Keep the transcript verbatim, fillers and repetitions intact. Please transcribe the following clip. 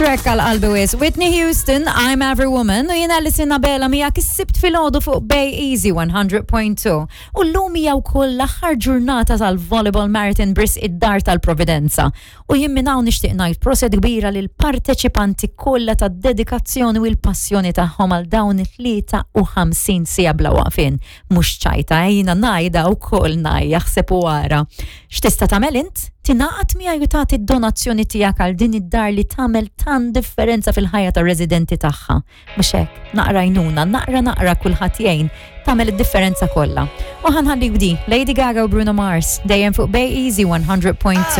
Track għal qalbi wisq. Whitney Houston, I'm Every Woman, u jiena Alison Abela miegħek is-Sibt filgħodu fuq Bay Easy one hundred point two. U llum hija wkoll l-aħħar ġurnata tal-Volleyball Marathon b'risq id-Dar tal-Providenza. U jien minn hawn nixtieq ngħid proset kbira lil parteċipanti kollha tad-dedikazzjoni u l-passjoni tagħhom għal dawn it-tlieta u ħamsin siegħa bla waqfien. Mhux ċajta, jiena ngħidha wkoll ngħajja, aħseb u ara. X'tista' tagħmel int? Tingħaqad miegħi u tagħti d-donazzjoni tiegħek għal din id-dar li tagħmel tant differenza fil-ħajja tar-residenti tagħha. Mhux hekk, naqra għajnuna, naqra naqra kulħadd jgħin, tagħmel id-differenza kollha. U ħa nħallik b'din, Lady Gaga u Bruno Mars, dejjem fuq Bay Easy one hundred point two.